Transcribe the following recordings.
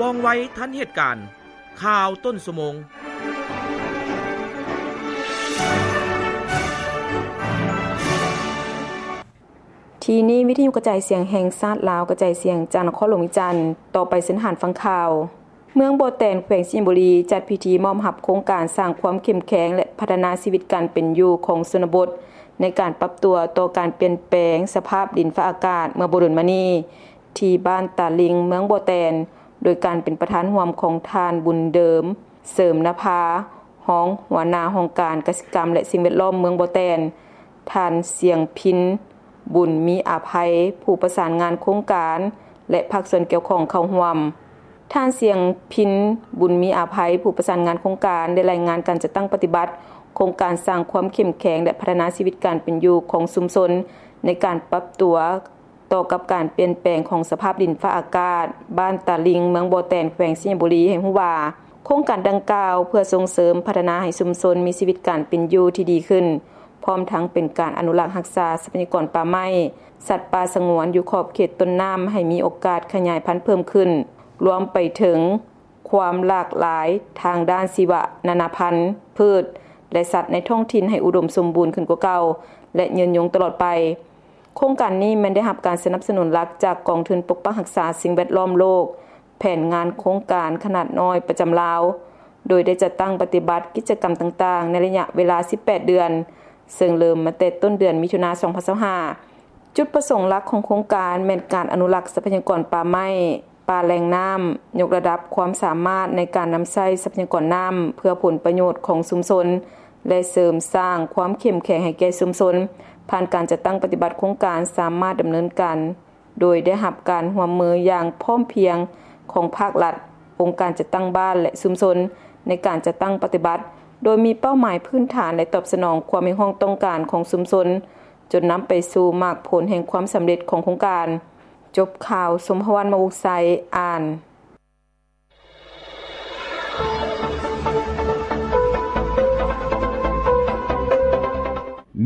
ວ່ອງໄວທັນເຫດການ. ຂ່າວຕົ້ນຊົ່ວໂມງ. ທີ່ນີ້ ວິທະຍຸກະຈາຍສຽງແຫ່ງຊາດລາວ ກະຈາຍສຽງຈາກນະຄອນຫຼວງວຽງຈັນ. ຕໍ່ໄປເຊີນທ່ານຟັງຂ່າວ. ເມືອງບໍ່ແຕນ ແຂວງໄຊຍະບູລີ ຈັດພິທີມອບຮັບໂຄງການສ້າງຄວາມເຂັ້ມແຂງ ແລະ ພັດທະນາຊີວິດການເປັນຢູ່ຂອງຊົນນະບົດ ໃນການປັບຕົວຕໍ່ການປ່ຽນແປງສະພາບດິນຟ້າອາກາດເມື່ອບໍ່ດົນມານີ້ ທີ່ບ້ານຕາລິງ ເມືອງບໍ່ແຕນ ໂດຍການເປັນປະທານຮ່ວມຂອງທ່ານ ບຸນເດີມ ເສີມນະພາ ຮອງຫົວໜ້າຫ້ອງການກະສິກຳ ແລະ ສິ່ງແວດລ້ອມເມືອງບໍ່ແຕນ, ທ່ານ ສຽງພິນ ບຸນມີອາໄພ ຜູ້ປະສານງານໂຄງການ ແລະ ພາກສ່ວນກ່ຽວຂ້ອງເຂົ້າຮ່ວມ. ທ່ານ ສຽງພິນ ບຸນມີອາໄພ ຜູ້ປະສານງານໂຄງການ ໄດ້ລາຍງານການຈັດຕັ້ງປະຕິບັດໂຄງການສ້າງຄວາມເຂັ້ມແຂງ ແລະ ພັດທະນາຊີວິດການເປັນຢູ່ຂອງຊຸມຊົນ ໃນການປັບຕົວ ຕໍ່ກັບການປ່ຽນແປງຂອງສະພາບດິນຟ້າອາກາດ ບ້ານຕາລິງ ເມືອງບໍ່ແຕນ ແຂວງໄຊຍະບູລີ ໃຫ້ຮູ້ວ່າ ໂຄງການດັ່ງກ່າວເພື່ອສົ່ງເສີມພັດທະນາໃຫ້ຊຸມຊົນມີຊີວິດການເປັນຢູ່ທີ່ດີຂຶ້ນ, ພ້ອມທັງເປັນການອະນຸລັກຮັກສາຊັບພະຍາກອນປ່າໄມ້ ສັດປ່າສະຫງວນຢູ່ຂອບເຂດຕົ້ນນ້ຳ ໃຫ້ມີໂອກາດຂະຫຍາຍພັນເພີ່ມຂຶ້ນ, ລວມໄປເຖິງຄວາມຫຼາກຫຼາຍທາງດ້ານຊີວະນານາພັນ, ພືດ ແລະ ສັດໃນທ້ອງຖິ່ນໃຫ້ອຸດົມສົມບູນຂຶ້ນກວ່າເກົ່າ ແລະ ຍືນຍົງຕະຫຼອດໄປ. ໂຄງການນີ້ແມ່ນໄດ້ຮັບການສະໜັບສະໜູນຫຼັກຈາກກອງທຶນປົກປັກຮັກສາສິ່ງແວດລ້ອມໂລກ, ແຜນງານໂຄງການຂະໜາດນ້ອຍປະຈຳລາວ, ໂດຍໄດ້ຈັດຕັ້ງປະຕິບັດກິດຈະກຳຕ່າງໆ ໃນໄລຍະເວລາສິບແປດເດືອນ, ເຊິ່ງເລີ່ມມາແຕ່ຕົ້ນເດືອນມິຖຸນາ ສອງພັນຊາວຫ້າ. ຈຸດປະສົງຫຼັກຂອງໂຄງການແມ່ນການອະນຸລັກຊັບພະຍາກອນປ່າໄມ້, ປ່າແຫຼ່ງນ້ຳ, ຍົກລະດັບຄວາມສາມາດໃນການນຳໃຊ້ຊັບພະຍາກອນນ້ຳເພື່ອຜົນປະໂຫຍດຂອງຊຸມຊົນ ແລະ ເສີມສ້າງຄວາມເຂັ້ມແຂງໃຫ້ແກ່ຊຸມຊົນ, ຜ່ານການຈັດຕັ້ງປະຕິບັດໂຄງການສາມາດດຳເນີນການ ໂດຍໄດ້ຮັບການຮ່ວມມືຢ່າງພ້ອມພຽງຂອງພາກລັດ, ອົງການຈັດຕັ້ງບ້ານ ແລະ ຊຸມຊົນ ໃນການຈັດຕັ້ງປະຕິບັດ, ໂດຍມີເປົ້າໝາຍພື້ນຖານ ແລະ ຕອບສະໜອງຄວາມຮຽກຮ້ອງຕ້ອງການຂອງຊຸມຊົນ, ຈົນນຳໄປສູ່ໝາກຜົນແຫ່ງຄວາມສຳເລັດຂອງໂຄງການ. ຈົບຂ່າວ, ສົມພະວັນ ມະວົງໄຊ ອ່ານ.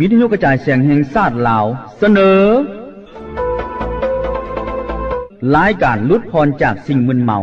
ວິທະຍຸກະຈາຍສຽງແຫ່ງຊາດລາວ ສະເໜີ ລາຍການຫຼຸດຜ່ອນຈາກສິ່ງມຶນເມົາ.